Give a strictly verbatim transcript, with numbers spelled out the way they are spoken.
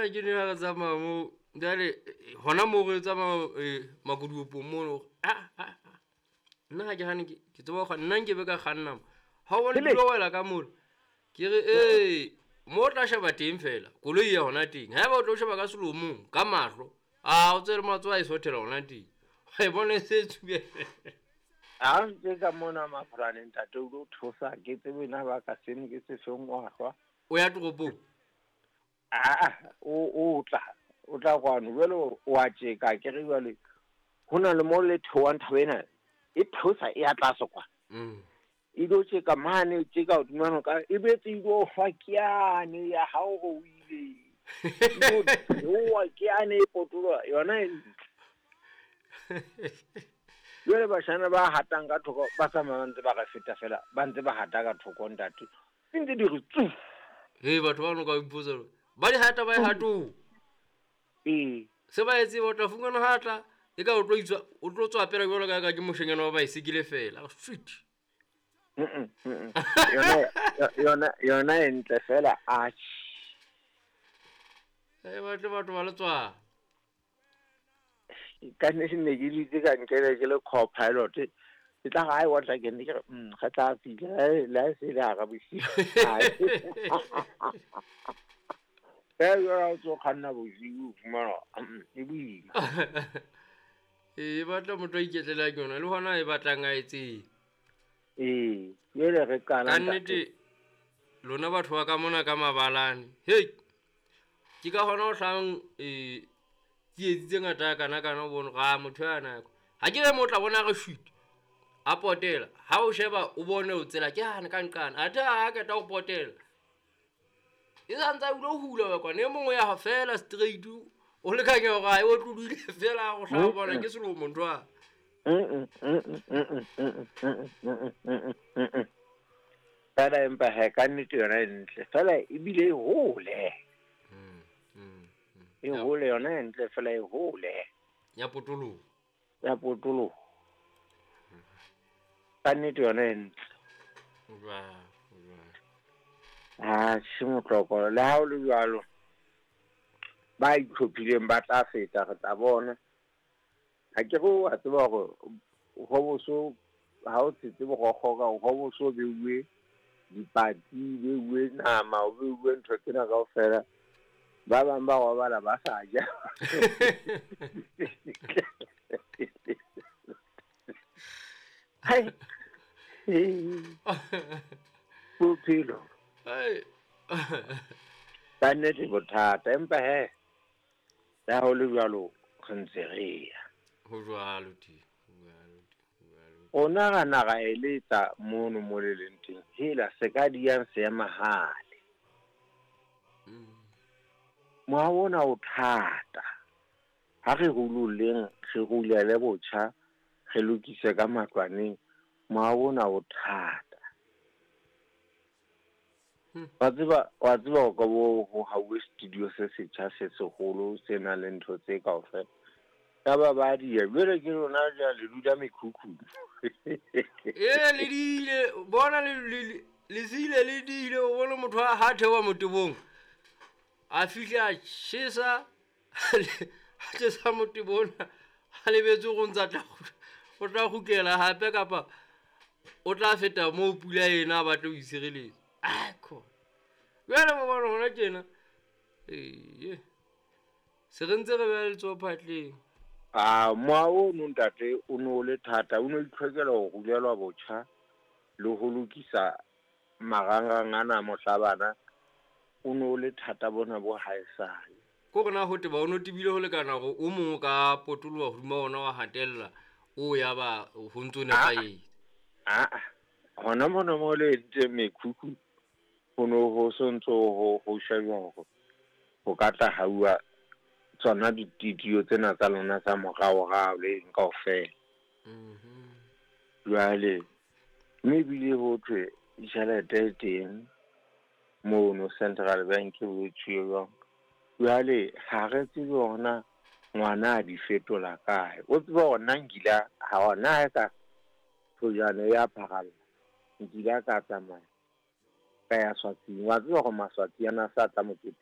Bona ke ne ha re tsamaya moo jwale hona moo re tsamaya makoduwepong mono. Ah ah ah. Nna ha ke hane ke ke tseba ho kganna, nna nkebe ka kganna mo. Ha o bone Hele. ke tlo wela ka mola. Ke re ee, mo o tla sheba teng fela, koloi ya hona teng. Haeba o tlo sheba ka selomong, ka mahlo, ah o tsebe matsoho a e sothela hona teng. Wa e bona e se tsube. Ha ntse ka mona Maphalane ntate o tlo thusa ke tsebe na ba ka seno ke se feng wa hlwa. O ya toropong? Ah, o o tla o tla kwano jwale o a tjeka ke re jwale ho na le mo le theohang thaba ena e theosa e ya tlase kwa. Mm. E tlo tjeka mane e tjeka hodima noka e boetse e tlo hlwa ke yane ya hao hore o ile. E tlo theoha ke yane e potoloha yona e ntle. Jwale bashana ba hatang ka thoko ba tsamaya ba ntse ba re feta fela ba ntse ba hata ka thoko ntate. Di ntse di re tsu. Hei batho ba no ka ipotsa hore ba di hata ba e hatong. Ee. Se ba e tseba o tla fumana ha tla e ka o tlo itswa o tlo tswa pele jwalo ka ka ke moshanyana wa baesekele fela. Sweet. Mm-mm, mm-mm. Yona yona yona e ntle fela atjhe. Eh batle batho ba letswalo. Ka nnete ne ke dutse ka nkele ke le co-pilot. Ke tla re, "Ai, wa tla ke ne ke re, mm, re tla fihla le ha e se le hara bosiu." Ee, jwale ha o tso kganna bosiu o fumana hore, mm, e boima. Ee, e batla motho a iketlela ke yona le hona e batlang a e tsebe. Ee, jwale re qala Ka ntate. nnete lona batho ba ka mona ka mabalane. Hei. Ke ka hona ho hlahang eh tsietsi tse ngata kana kana o bone hore, ah motho ya na. Ha ke re mo tla bona re shoot. A potela. Ha o sheba o bone o tsela ke hane ka nqane. Athe ha qeta ho potela. E sa ntse a ulo hula wa kwana e mongwe ya fela straight o lekanya hore ha e otlolohile fela go hlaha bona ke selomo ntho a. Mm-mm, mm-mm, mm-mm, mm-mm, mm-mm, mm-mm, mm-mm, mm-mm. Fela empa he ka nnete yona e ntle fela ebile e hole. Mm, mm, mm. E hole yona e ntle fela e hole. Ya potoloho. Ya potoloho. Ka nnete yona e ntle. Jwang, jwang. Ah, se motloko le ha o le jwalo. Ba itlhophileng ba tla feta re tla bona. Ha ke re wa tseba hore ho boso ha o tshetse borokgo ka ho boso beuwe dipatsi, beuwe nama, o beuwe ntho tsena kaofela. Ba bang ba robala ba sa ja. Hai. Bophelo. Hai. Ka nnete bothata empa he le ha ho le jwalo re ntse re ya. Ho jwalo teng, ho jwalo teng, ho jwalo. Rona ra na ra eletsa mono mo le leng teng. Hela se ka diyang seemahale. Mm. Moaho ona o thata. Ha re ruloleng, re rulele botjha, re lokise ka matlwaneng. Moaho ona o thata. Hmm. Wa tseba, wa tseba hore ka bo ho hauwe studio se setjha se seholo se nang le ntho tse kaofela. Ya ba ba di ya, jwale ke lona jwale le dula mekhukhung. Ee, le diile, bona le le le sile le diile, o bone motho a ha theoha motebong. A fihla a tjhesa, a tjhesa motebo ona, a lebetse hore o ntsa tla o tla kgutlela hape kapa o tla feta moo pula ena a batla ho itshireletsa. Aikhona. Jwale wa bona hona tjena. Ee. Se re ntse re beha letsoho phatleng. Ah, moaho ono ntate o no le thata, o no itlhokela ho rulelwa botjha le ho lokisa marangrang ana a mohlabana. O no le thata bona bo haesale. Ko rona ho teba o no tebile ho lekana hore o mong o ka potoloha hodima ona wa hatella o ya ba ho ntso nepahetse. Ah, ah. Hona mona mo le entseng mekhukhu ho no ho so ntso ho ho shejwa hore ho ka tla hauwa tsona dititio tsena tsa lona tsa moraorao le eng kaofela. Mhm. Jwale mme ebile ho thwe tjhelete e teng mono Central Bank ho tjhuwe jwang. Jwale ha re tsebe hore na ngwana a di fetola kae. O tsebe hore nna nkile ha hona ha ka thojana ya pharalla. Nkile ka tsamaya ka ya Swatsing. Wa tseba hore Maswatsi ana sa tla moketeng.